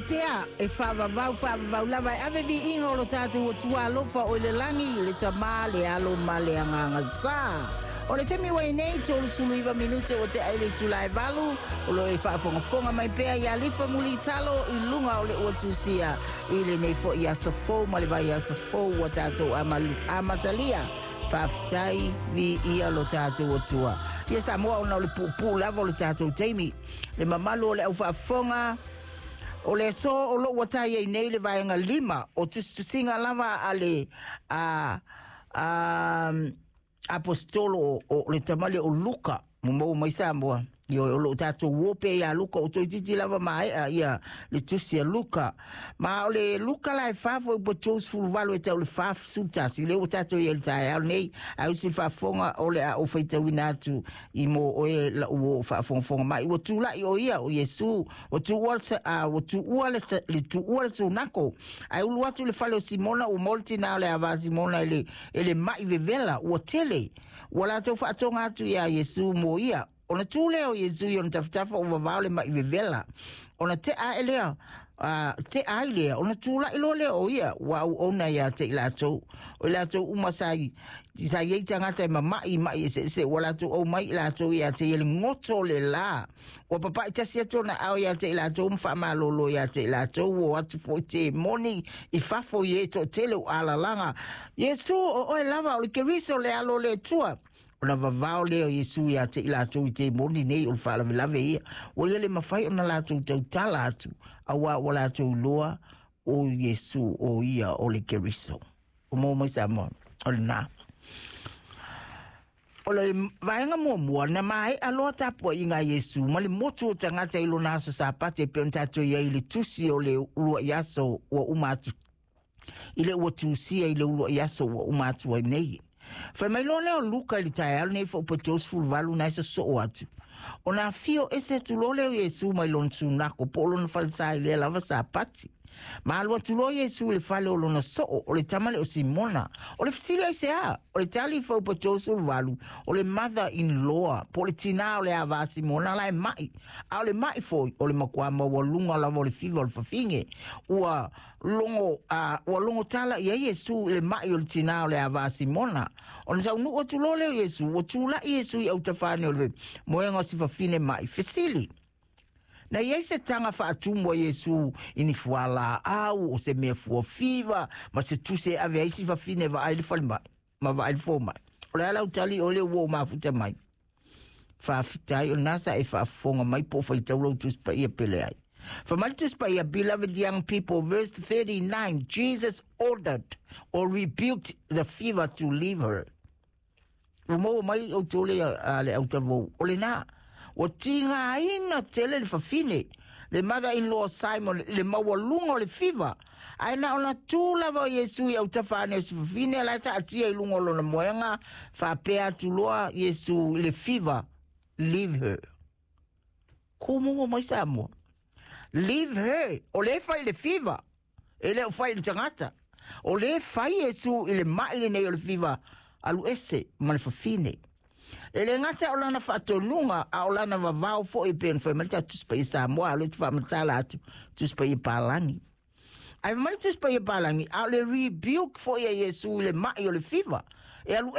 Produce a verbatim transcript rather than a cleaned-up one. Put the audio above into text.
pea e faavavau faavavau lava e ave viiga o lo tatou Atua alofa o i le lagi, le Tamā, le Alo ma le Agaga Sa. O le taimi ua i nei, tolu iva minute ua tea i le itula e valu, o lo e faafogafoga mai pea ia Lifa Mulitalo i luga o le ua tusia i lenei fo'i aso fou ma le vaiaso fou ua tatou amatalia. Faafetai, viia lo tatou Atua. Ia Samoa, ona o le puupuu lava o le tatou taimi. Le mamalu o le au faafofoga, o le aso o loo ua tai ai nei le vaega lima o tusitusiga lava a le a, a, apostolo o, o le tamale o Luka mo mai Samoa. Io o lo tatou uo pea ia Luka o toeitiiti lava maea ia le tusi a Luka. Ma o le Luka la e fafo i po tolusefuluvalu e tau le fasefulutasi le ua tatou ia le taeao nei ai usi faafofoga o le a ou faitauina atu i mo oe la ua faafogafoga mai. Ua tulai o ia o Iesu ua tuua ua tuua le le tuua le sunako ai ulu atu le fale o Simona ua maua le tinā o le ava Simona e le e le mai vevela ua tele ua latou faatoga atu iā Iesu mo ia. Ona tu lea o Iesu i ona tafatafa o vavao le mai vevela. Ona te a lea, uh, te ai lea, ona tula'i loa lea o ia, ua auauna ia te i latou. O i latou uma sa i, sa iai tagata e mama'i ma'i eseese, ua latou aumai i latou ia te ia le goto o le lā. Ua papa'i tasi atu ona ao ia te i latou ma faamalōlō ia te i latou, ua o atu fo'i temoni i fafo i e to'atele o alalaga. Iesu o oe lava o le Keriso le Alo o le Atua. Ona vavao lea o Iesu ia te i latou i temoni nei o le faalavelave ia. Ua ia le mafai ona latou tautala atu, auā ua latou iloa o Iesu o ia o le Keriso. O mo mai Samoa, o lenā. O le vaega muamua, na mae'a loa tapua'iga a Iesu ma le motu o tagata i lona aso Sapati e pei ona tatou iai i le tusi o le ulua'i aso ua uma atu. I le ua tusia i le ulua'i aso ua uma atu ai nei. Fai mai loa lea o Luka i le taeao lenei fo'u po tolusefuluvalu na e sosoo atu. Ona afio ese atu loa lea o Iesu mai lona sunako po o lona falesa i lea lava Sapati. Ma alu atu loa Iesu i le fale o lona soo o le tama lea o Simona. O le fesili aiseā? O le tali fau po tolusefuluvalu o le mother in law po o le tinā o le ava a Simona la e ma'i. A o le ma'i foi o le makuā maualuga lava o le fiva o le fafine. Ua logo a ua logo tala i ai Iesu i le ma'i o le tinā o le ava a Simona. Ona saunu'u atu loa lea o Iesu, ua tula'i Iesu i autafa ane o le moega o si fafine ma'i. Fesili. Na iai se taga faatumu a Iesu i ni fualaau o se mea fuafiva ma se tusi e ave ai si fafine vaai le falemai ma vaai le fomai. O le a lau tali o le ua o mafuta mai. Faafetai o lena sa e faafofoga mai po o faitau lau Tusi Paia pele ai. Fai mai le Tusi Paia, beloved young people, verse thirty-nine, Jesus ordered or rebuked the fever to leave her. Ua maua mai outou le, a, le autalavou. O lenā, ua tigāina tele le fafine, le mother-in-law Simon, le maualuga o le fiva. Ae na ona tū lava o Iesu i autafa ane o si fafine, la e taatia i luga o lona moega, faapea atu loa Iesu i le fiva, leave her. Kū mai Samoa. Leave her. O le fai le fiva. E le o fai le tagata. O le fai Iesu i le ma'i lenei o le fiva, alu ese ma le fafine. E le gata o lana faatonuga a o lana vavao fo'i e pei ona fai mai le tatou Tusi Paia Samoa a o lea te faamatala atu Tusi Paia Palagi. Ae fai mai le Tusi Paia Palagi, a o le rebuke fo'i a Iesu i le ma'i o le fiva. E alu